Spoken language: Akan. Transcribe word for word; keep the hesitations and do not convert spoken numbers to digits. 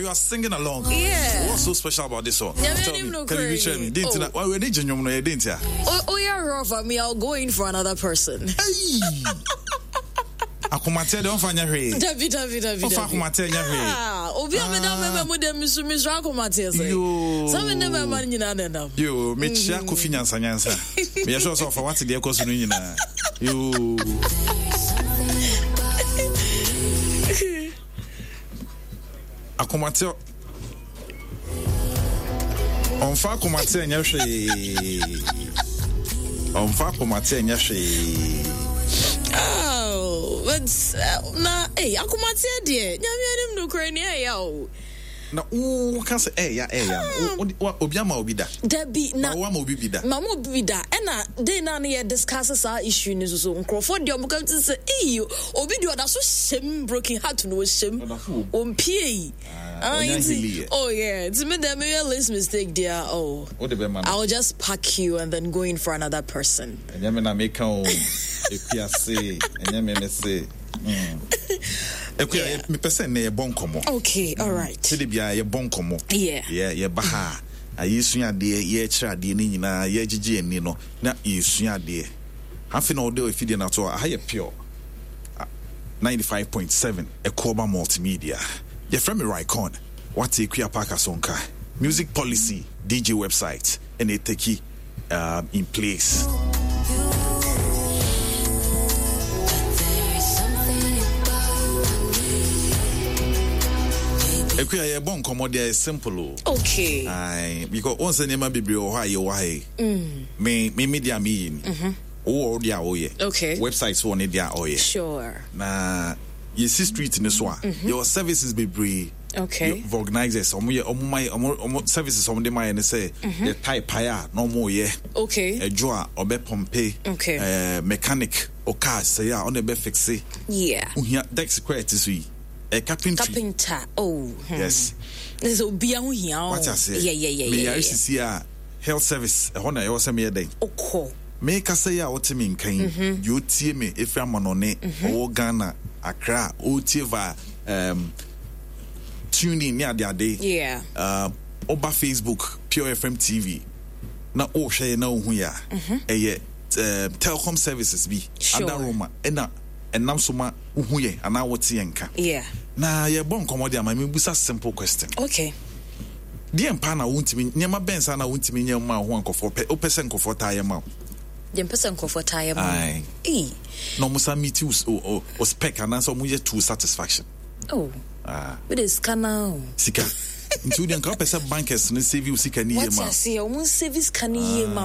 You are singing along. Yeah. What's so special about this song? Nyame Tell anim me. no Can you koraa share me? ni. Didn't Oh. why we didn't you know didn't ya? Oh, oh yeah, rough. I mean, I'll go in for another person. Hey. Akomate don't find your way. Dabi, dabi, dabi, Ofa dabi. akomate nya hwee. Ah, obi a meda mɛma mu dɛ misu misu akomate sɛ. Yo. Sɛ me ne mɛma no nyinaa nenam. Yo, mekyia Kofi Nyansa Nyansa. Meyɛ sure sɛ ɔfa wate deɛ ɛkɔ so no nyinaa. Yo. Akomate ɔmfa akomate nyɛ hwee. Ɔmfa akomate nyɛ hwee. Oh, but uh, na hey, akomate deɛ Nyame anim nokorɛ ni ɛyɛ o. Na wo ka sɛ ɛyɛ ɛyɛ no. Wo- wo- Obi ama obi da. Dabi na Na wo ama obi bi da. Mama obi da ɛna day na ne yɛ discuss saa issue ni so so nkurɔfoɔ deɛ ɔmo ka ti sɛ eyi obi deɛ ɔda so hyɛm broken heart no ɔhyɛm Ɔda so wɔ mu. ɔmpie yi. Ah, ɔnya nti- healing yɛ. oh yeah, nti me deɛ meyɛ least mistake deɛ, oh, Wode bɛma no. I'll just pack you and then go in for another person. Ɛnyɛ me na meka o. Ekuase ɛnyɛ me me se Mm. Ekua, Yeah. mepɛ sɛ nnɛ yɛbɔ nkɔmmɔ. Okay, all right. Sɛde biara yɛbɔ nkɔmmɔ. Yeah. Yɛ yɛba ha a, yɛsua adeɛ, yɛkyerɛ adeɛ no nyinaa, yɛgyegye ani no na yɛsua adeɛ. Afei na wɔde afidie no ato hɔ. Aha yɛ Pure Ah, ninety-five point seven Ɛkɔɔba Multimedia. Yɛfrɛ me Ricon. Wate Ekua Park Asonka Music Policy D J website ɛna ɛtaki um, in place. Ekua, yɛbɔ nkɔmmɔ deɛ, ɛyɛ simple o. Okay. Aye, because wɔn sɛ nneɛma bebree wɔ hɔ a yɛwɔ ha yi. Me me me deɛ a meyɛ ni. Wowɔ wo deɛ a woyɛ. Okay. Website wɔ ne deɛ a ɔyɛ. Sure. Na yɛsi street ne so a, yɛwɔ services bebree. Okay. Yɛ- Organizers, ɔmo yɛ ɔmo ma yɛ ɔmo ɔmo services ɔmo de ma yɛ ne sɛ yɛ tyre pae a na ɔmo yɛ. Okay. Ɛdwo a ɔbɛ pump. Okay. Ɛɛ mechanic ɔkaa sɛɛ a ɔna ɛbɛ fix. Yeah. Ohia desk kora ɛte so yi. Ɛ carpentry. Carpenter. Oh. Hmm. Yes. This is obi a ho hia o. Wate aseɛ. Yeah, yeah, yeah, yeah. Meyare yeah. sisi a, health service ɛhɔ na ɛwɔ sɛ meyɛ dɛn. Okɔ. Mekasa yi a wote me nka yi, deɛ ɔtie me ɛfiri amanɔne, ɔwɔ Ghana, Accra, ɔtie va um, tuning ne adeade, Yeah. uh, ɔba Facebook, Pure F M T V, na ɔrehwɛ yɛ na ɔhu yɛ a, ɛyɛ uh, telecom services bi Sure. adaroma ɛna ɛnam so ma wohu yɛn anaa wote yɛn nka. Yeah. Na yɛbɔ nkɔmmɔ de ama mebusa simple question. Okay. Deɛ mpa na wontumi nneɛma bɛn saa na wontumi nyɛ ma wo ho a nkɔfoɔ pɛ, wopɛ sɛ nkɔfoɔ taa yɛ ma wo? Deɛ mpɛ sɛ nkurɔfoɔ taa yɛ ma. Aye. Ee. Na ɔmo sa meet wo o, o, o spec anaasɛ ɔmo yɛ to satisfaction. Oh. Ah. Wode sika na o. Sika nti wodeɛ nka wopɛ sɛ bankers no save wo sika ne yie Wate ma wo. aseɛ, ɔmo nsave sika no yie ma.